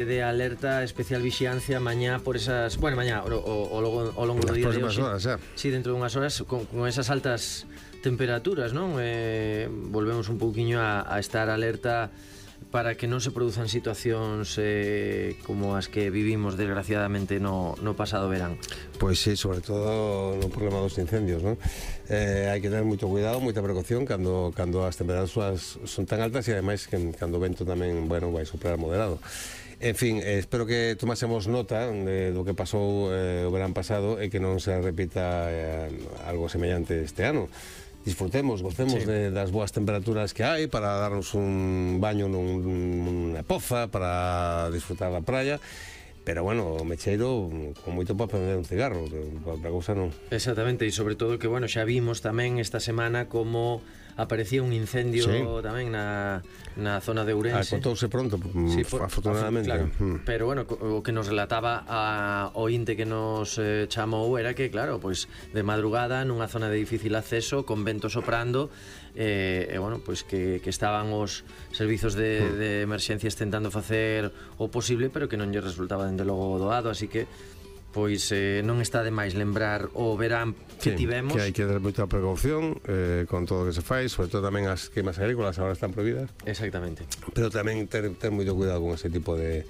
de alerta especial vixiancia mañá por esas, bueno, mañá o longo do día de hoxe. Horas, xa. Sí, dentro dunhas horas con esas altas temperaturas, non? Volvemos un pouquiño a estar alerta para que non se produzan situacións como as que vivimos desgraciadamente no pasado verán. Pois sí, sobre todo no problema dos incendios, non? Hai que ter moito cuidado, moita precaución cando as temperaturas son tan altas e ademais que cando o vento tamén, bueno, vai soprar moderado. En fin, espero que tomásemos nota do que pasou o verán pasado e que non se repita algo semellante este ano. Disfrutemos, gocemos das boas temperaturas que hai para darnos un baño nunha poza, para disfrutar da praia. Pero bueno, o mecheiro con moito para prender un cigarro, outra cousa non. Exactamente, e sobre todo que, bueno, xa vimos tamén esta semana como aparecía un incendio tamén na zona de Ourense. Contouse pronto, sí, afortunadamente. Claro, pero bueno, o que nos relataba o ointe que nos chamou era que, claro, pois de madrugada nunha zona de difícil acceso, con vento soprando, e bueno, pois que estaban os servizos de emerxencias tentando facer o posible, pero que non lle resultaba dende logo doado, así que pois non está de máis lembrar o verán que tivemos, que hai que ter moita precaución con todo o que se fai, sobre todo tamén as queimas agrícolas agora están prohibidas. Exactamente. Pero tamén ter moito cuidado con ese tipo de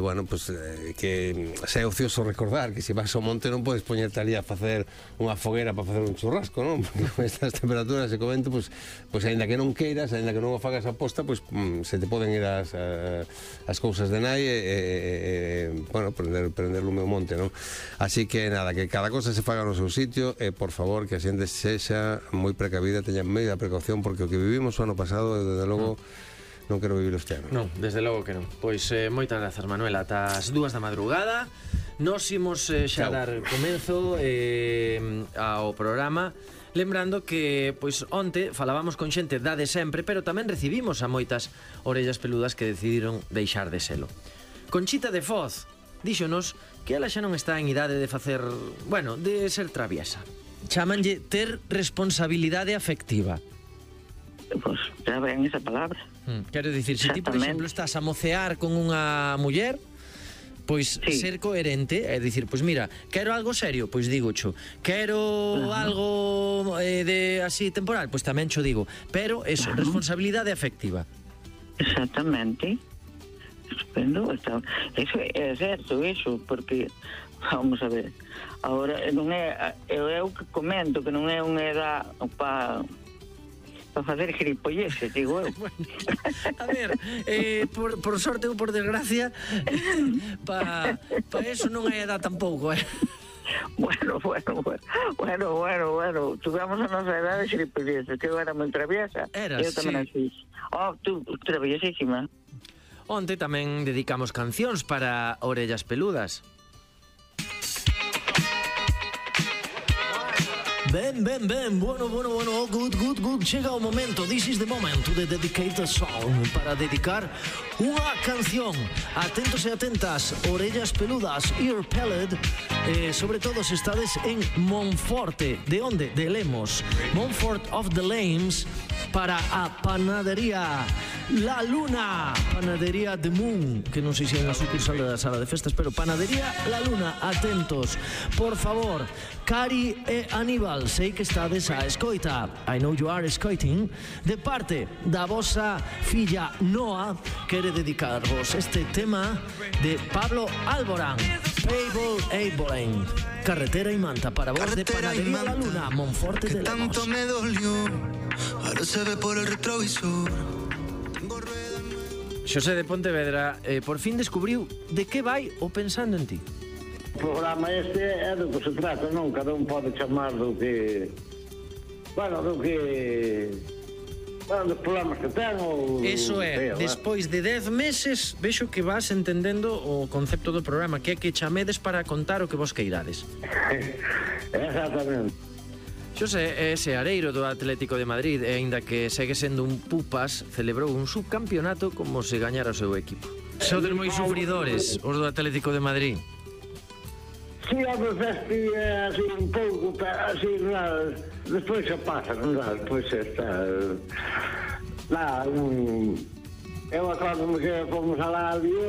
bueno, pues que sea ocioso recordar que se vas ao monte non podes poñerte ali a facer unha foguera para facer un churrasco, non? Porque con estas temperaturas e co vento, pues aínda que non queiras, aínda que non o fagas a posta, pues se te poden ir as cousas de nai bueno, prender lume o monte, non? Así que nada, que cada cosa se faga no seu sitio e por favor que a xente sexa moi precavida, teña media precaución, porque o que vivimos o ano pasado, desde logo non quero vivir este ano. Non, desde logo que non. Pois moitas grazas, Manuel, ata as 2 da madrugada. Nos imos xa dar comenzo ao programa, lembrando que pois onte falábamos con xente da de sempre, pero tamén recibimos a moitas orellas peludas que decidiron deixar de selo. Conchita de Foz díxonos que ela xa non está en idade de facer, bueno, de ser traviesa. Chámanlle ter responsabilidade afectiva. Pois xa ven esa palabra. Quero dicir, se ti, por exemplo, estás a mocear con unha muller, pois ser coherente é dicir, pois mira, quero algo serio, pois digo cho, quero algo de así temporal, pois tamén cho digo, pero eso, responsabilidade afectiva. Exactamente. Estupendo, eso é certo, eso, porque vamos a ver, agora non é, eu que comento que non é unha edad para facer gilipolleces, digo eu. Bueno, a ver, por sorte ou por desgracia, pa eso non hai edad tampouco, Bueno, tuvamos a nosa edad de gilipolleces, que eu era moi traviesa. Eras, eu tamén así. Tú traviesísima. Onte tamén dedicamos cancións para orellas peludas. Ben, bueno, good, chega o momento, this is the moment to dedicate a song, para dedicar unha canción. Atentos e atentas, orellas peludas, ear pellet, sobre todo se estades en Monforte. De onde? De Lemos, Montfort of the Lames, para a panadería La Luna, panadería The Moon, que non sei se é unha sucursal da sala de festas, pero panadería La Luna, atentos, por favor. Cari e Aníbal, sei que estades a escoita, I know you are escoiting, de parte da vosa filla Noa, quere dedicarvos este tema de Pablo Alborán, Pablo Alborán, Carretera y Manta, para vos de Panadería La Luna, Monforte de Lemos. Tanto me dolió, ahora se ve por el retrovisor. Xosé de Pontevedra, por fin descubriu de que vai o Pensando en Ti. O programa este é do que se trata, non? Cada un pode chamar do que... Bueno, dos problemas que ten ou... Eso é, despois de 10 meses vexo que vas entendendo o concepto do programa, que é que chamedes para contar o que vos queirades. Exactamente. Xosé é seareiro do Atlético de Madrid e aínda que segue sendo un pupas, celebrou un subcampeonato como se gañara o seu equipo. Sodes moi sufridores os do Atlético de Madrid. Si, a veces así un pouco, así, despois se pasa, non? Despois está... Eu acordo que fomos alá a Lyon